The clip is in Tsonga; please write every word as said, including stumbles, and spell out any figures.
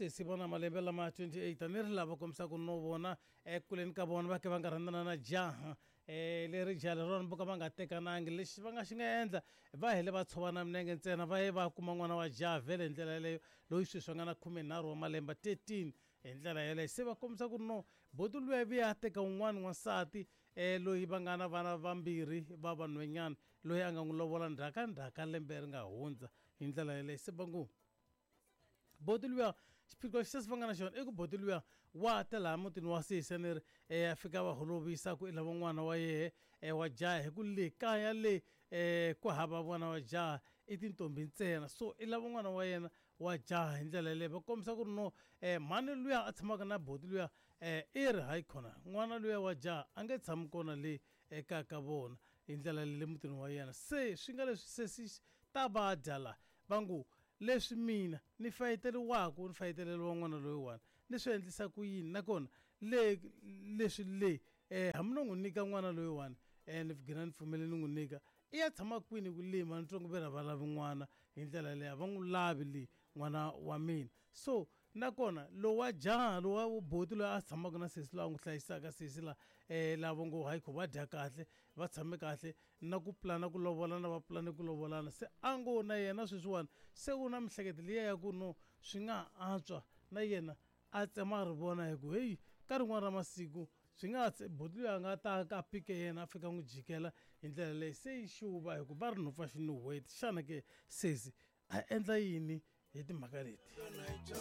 Sesi vona malembe lama twenty-eight, ni ri lava kombisaka no vona ekuleni ka vona va ke va nga rhandzana na jaha um leri jaha leriwani vo ka va nga tekanangi. Lexi va nga xi nga endla, va hele va tshovana minenge ntsena, va ye va kuma n'wana wa jaha vhele hi ndlela yeleyo, loyi sweswi a nga na khumenharhu wa malembe, thirteen hi ndlela yeleyo. Se va kombisa ku ri no boti luya vuya a teka un'wana n'wansati um loyi va nga na vana vambirhi va vanhwanyana, loyi a nga n'wi lovola ndzhaka ndzhaka lembe ri nga hundza hi ndlela yeleyo. Se va ngo boti luya, xiphiqo xi sesi va nga na xona i ku boti luya wa ta laha mutini wa sesi, ni ri um a fika va holovisa ku i lava n'wana wa yehe um wa jaha, hi ku le kaya le um ku hava n'wana wa jaha, i tintombi ntsena, so i lava n'wana wa yena wa jaha hi ndlela yeleyo. Va kombisa ku ri no um mhani luya a tshamaka na boti luya um i ri hayi khona n'wana luya wa jaha a nge tshami kona le ekaya ka vona hi ndlela le mutini wa yena. Se swi nga leswi sesi ta va dya la va ngo leswi mina ni fayeteriwaku ni fayeteleriwa n'wana loyiwani ni swi endlisa ku yini, nakona le leswi le um hambi no n'wi nyika n'wana loyiwani um ni gina ni pfumele ni n'wi nyika, i ya tshama kwini ku lima ni twa ku ve ra va lavi n'wana hi ndlela leyi, a va n'wi lavi le n'wana wa mina. So nakona lowa jaha lowa boti loyi a tshamaka na sesi loyi a n'wi hlayisaka sesi la um lava ngo hayi kho va dya kahle va tshame kahle na ku pulana ku lovolana va pulane ku lovolana, se a ngo na yena sweswiwani se u na mihleketo liya ya ku no swi nga antswa na yena a tsema a ri vona, hi ku heyi ka rin'wana ra masiku swi nga ha boti loyi a nga ta ka pike yena a fika n'wi jikela hi ndlela leyi. Se yi xuva hi ku va ri nhopfa xinuhweti. Xana ke sesi a endla yini hi timhaka leti?